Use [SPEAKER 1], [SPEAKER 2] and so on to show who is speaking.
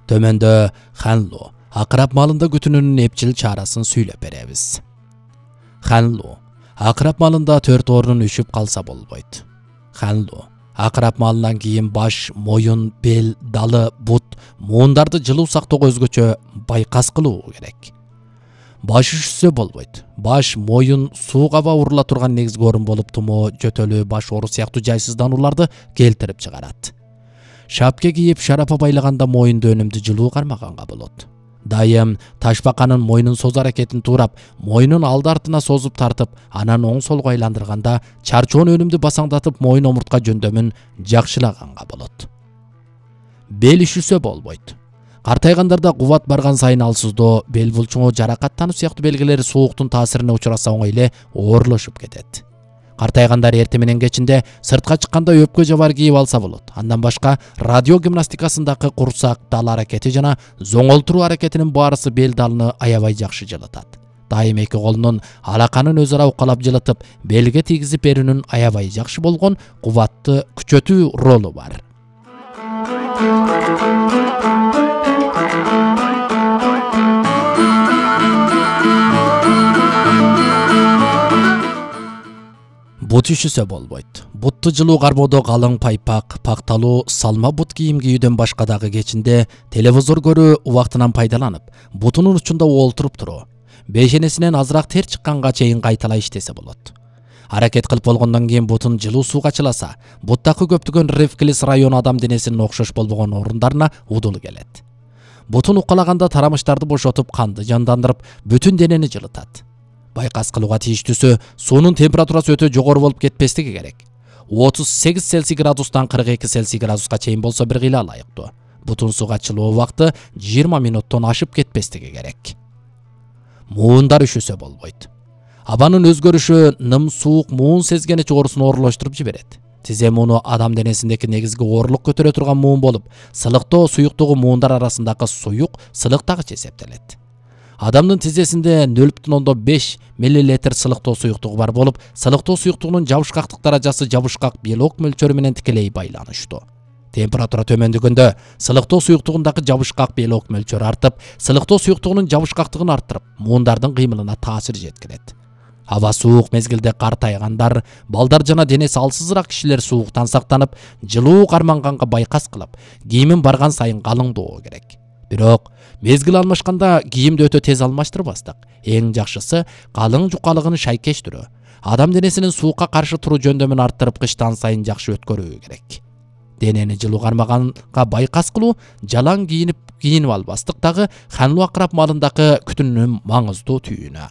[SPEAKER 1] Төмөндө Ханлу акырап малында күтүнүүнүн эпчил чарасын сүйлөп беребиз. Ханлу акырап малында 4 орнун үшүп калса болбойт. Ханлу акырап малынан кийин баш, моюн, бел, далы, бут, муундарды жылуу сактоого өзгөчө байкас кылуу керек. Баш üşүсө болбойт. Баш, моюн сууга аба урула турган негизги орун болуп тумоо, жөтөлүү, баш оору сыяктуу жайсызданууларды келтирип чыгарат. Шапке кийип шарапа байлаганда моюнду өнүмдүү жылуу кармаганга болот. Дайым ташбаканын мойнун соз аракетин туурап, мойнун алды артына созуп тартып, анан оң солго айландырганда чарчоон өнүмдү басаңдатып мойын омуртка жөндөмүн жакшылаганга болот. Бел üşүсө болбойт. Картайгандарда кубат барган сайын алсыздоо, бел булчуңу, жаракаттануу сыяктуу белгилери сууктун таасирине учураса оңой эле оорлошуп кетет. Картайгандар эртең менен кечинде сыртка чыкканда өпкө жабар кийип алса болот. Андан башка радио гимнастикасындагы курсак, дал аракети жана зоңолтуруу аракетинин баарысы бел далыны аябай жакшы жылытат. Дайым эки колунун алаканын өз ара укалап жылытып, белге тийгизип берүүнүн аябай жакшы болгон кубатты күчөтүү ролу бар. Бут üşүсө болбойт. Бутту жылуу кармоодо калың пайпак, пакталуу, салма бут кийим кийүүдөн башка дагы кечинде телевизор көрүү убактынан пайдаланып, бутунун учунда олтуруп туруу, бешенесинен азыраак тер чыкканга чейин кайталай иштесе болот. Аракет кылып болгондон кийин бутун жылуу сууга чыласа, буттакы көптөгөн рефлекс району адам денесинин окшош болбогон орундарына удул келет. Бутун укалаганда тарамыштарды бошотуп, канды жандандырып, бүтүн денени жылытат. Байкас кылууга тийиштүүсү суунун температурасы өтө жогору болуп кетпестиги керек. 38 Цельсий градустан 42 Цельсий градуска чейин болсо бир кыйла ылайыктуу. Бутун сууга чылуу убакты 20 минуттан ашып кетпестиги керек. Муундар üşүсө болбойт. Абанын өзгөрүшү ным, суук, муун сезгеничи оорусун оорлоштуруп жиберет. Тизе мууну адам денесиндеги негизги оорлук көтөрө турган муун болуп, сылыктоо суюктугу муундар арасындагы суюк сылыктагыч эсептелет. Адамдын тизесинде 0,5 мл сылыктоо суюктугу бар болуп, сылыктоо суюктугунун жабышкактык даражасы жабышкак белок мөлчөрү менен тикелей байланыштуу. Температура төмөндөгөндө сылыктоо суюктугундагы жабышкак белок мөлчөрү артып, сылыктоо суюктугунун жабышкактыгын арттырып, муундардын кыймылына таасир жеткирет. Аба суук мезгилде картайгандар, балдар жана денеси алсызыраак кишилер сууктан сактанып, жылуу карманганга байкас кылып, кийимин барган сайын калыңдоо керек. Бирок мезгил алмашканда кийимди өтө тез алмаштырбастык. Эң жакшысы калың жукалыгын шайкештирүү. Адам денесинин суукка каршы туруу жөндөмүн арттырып, кыштан сайын жакшы өткөрүү керек. Денени жылуу кармаганга байкас кылуу, жалаң кийинип албастык дагы Ханлу акырап малындагы күтүнүүнүн маңыздуу түйүнү.